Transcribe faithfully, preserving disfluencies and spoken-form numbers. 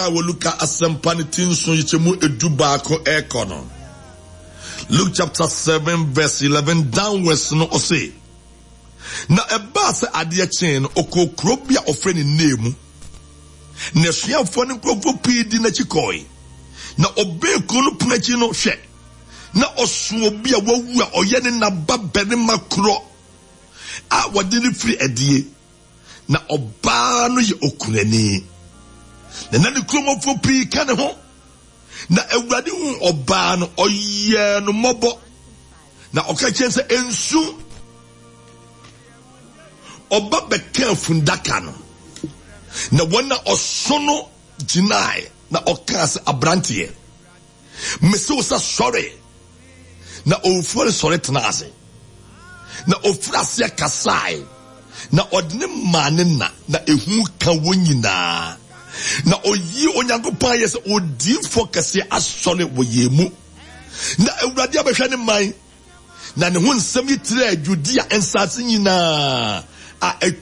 Wɔ Luka Asɛmpa no ti nson nkyekyɛmu edu baako ɛrekɔ no, Luke chapter seven verse eleven downwards no, ɔse, "Na ɛbaa sɛ adeɛ kyee no, ɔkɔɔ kuro bi a ɔfrɛ ne Nain mu, na asuafoɔ ne nkurɔfoɔ pii di n'akyi kɔe. Na ɔbɛn kuro no pono akyi no, hwɛ, na ɔso obi a wawu a ɔyɛ ne naba barima korɔ a wɔde no firi adie, na ɔbaa no yɛ okunani, na na ne kuromɔfoɔ pii ka ne ho. Na Awurade hu ɔbaa no, ɔyɛɛ no mmɔbɔ, na ɔka kyerɛ sɛ, 'Nsu.' Ɔba bɛka fundaka no, na wɔn a ɔso no gyinae. Na ɔkaa sɛ, 'Aberanteɛ, mese wo sɛ sɔre.' Na owufoɔ no sɔre tena ase, na ofiri aseɛ kasae, na ɔde ne maa ne na. Na ehu ka wɔn nyinaa, na oyi Onyankopɔn ayɛ sɛ, 'Odiyifoɔ kɛseɛ asɔre wɔ yɛn mu, na Awurade abɛhwɛ ne man.' Na ne ho nsɛm yi trɛɛ Judea nsase nyinaa a atwa